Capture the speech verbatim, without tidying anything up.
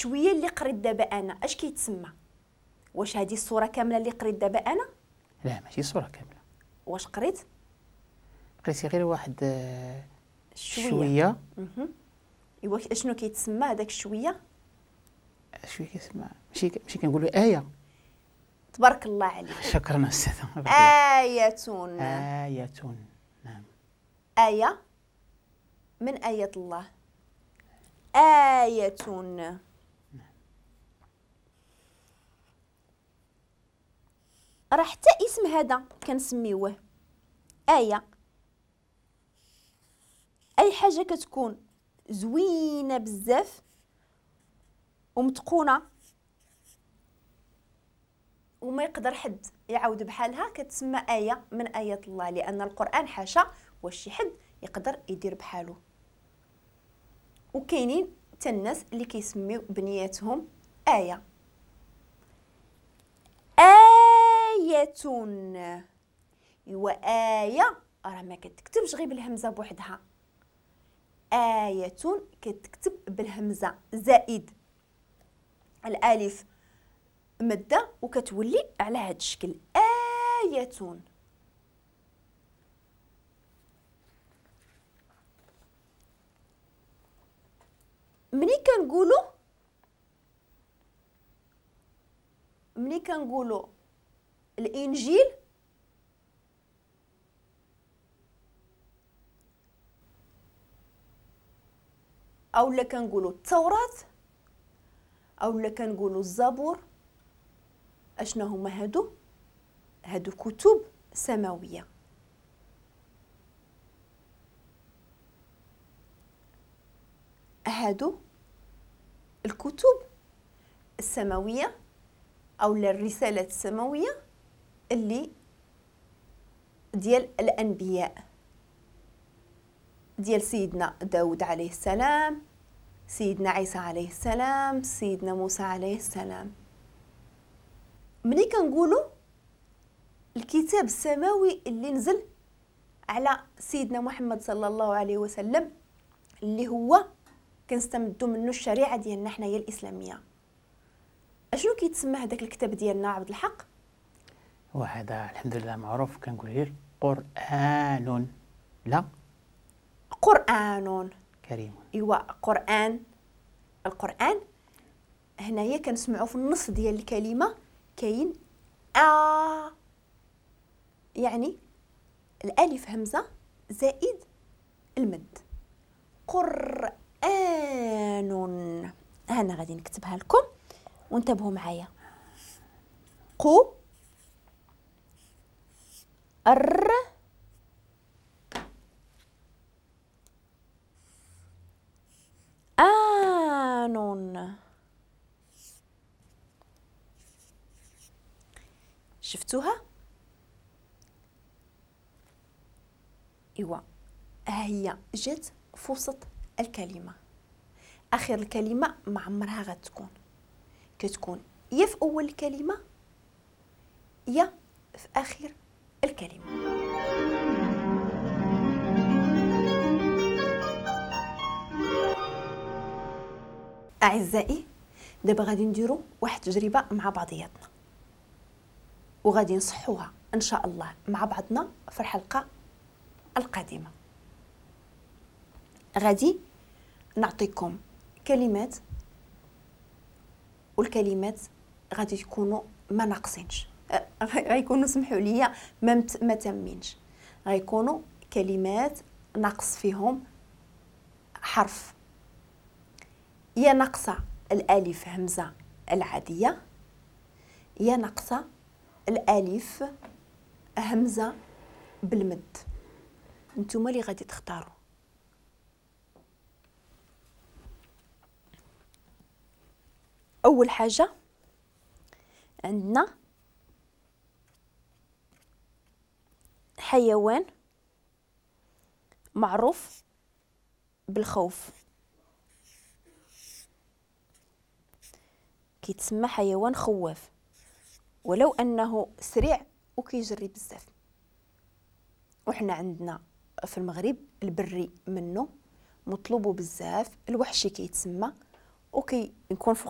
الشويه اللي قريت دابا انا اش كيتسمى؟ واش هذه الصورة كاملة اللي قريت دابا انا؟ لا ماشي الصورة كاملة. واش قريت؟ قريتي غير واحد شوية شوية. ايوا اشنو كيتسمى هذاك الشويه؟ شوية كيتسمى ماشي ماشي كنقولوا ايه. تبارك الله عليك. شكرا استاذه. آية. آية. نعم. آية من آية الله. آية. نعم. راه حتى اسم هذا كنسميوه آية. أي حاجة كتكون زوينة بزاف ومتقونة وما يقدر حد يعاود بحالها كتسمى آية من آيات الله، لأن القرآن حاشا واش شي حد يقدر يدير بحالو. وكاينين حتى الناس اللي كيسميو بنياتهم آية. آية. إيوا آية راه ما كتكتبش غير بالهمزة بوحدها، آية كتكتب بالهمزة زائد الألف مادة وكتولي على هذا الشكل آية. ملي كنقولوا ملي كنقولوا الإنجيل أو لا كنقولوا التوراة أو لا كنقولوا الزبور، اشنا هما هادو؟ هادو كتب سماوية. هادو الكتب السماوية او الرسالات السماوية اللي ديال الانبياء، ديال سيدنا داود عليه السلام، سيدنا عيسى عليه السلام، سيدنا موسى عليه السلام. ملي كنقولوا الكتاب السماوي اللي نزل على سيدنا محمد صلى الله عليه وسلم اللي هو كنستمدوا منه الشريعة ديالنا حنايا الاسلامية، اشنو كيتسمى هذاك الكتاب ديالنا عبد الحق؟ وهذا الحمد لله معروف، كنقول غير قرآن. لا قرآن كريم. ايوا قرآن. القرآن هنايا كنسمعوا في النص ديال الكلمة كاين آ، يعني الألف همزة زائد المد، قرآن. أنا غادي نكتبها لكم وانتبهوا معايا. قو ر آن. شفتوها؟ ايوا ها هي جات في وسط الكلمة. اخر الكلمة ما عمرها غتكون، كتكون يا في اول الكلمة يا في اخر الكلمة. اعزائي دابا غادي نديرو واحد التجربة مع بعضياتنا وغادي نصحوها ان شاء الله مع بعضنا في الحلقة القادمة. غادي نعطيكم كلمات والكلمات غادي يكونوا ما ناقصينش، غيكونوا سمحوا لي ما ما تامينش، غيكونوا كلمات ناقص فيهم حرف، يا ناقصه الالف همزه العادية، يا ناقصه الالف همزه بالمد. نتوما اللي غادي تختاروا. اول حاجة عندنا حيوان معروف بالخوف، كيتسمى حيوان خواف ولو انه سريع وكيجري بزاف. وحنا عندنا في المغرب البري منه مطلوب بزاف، الوحشي كيتسمى وكيكون فوق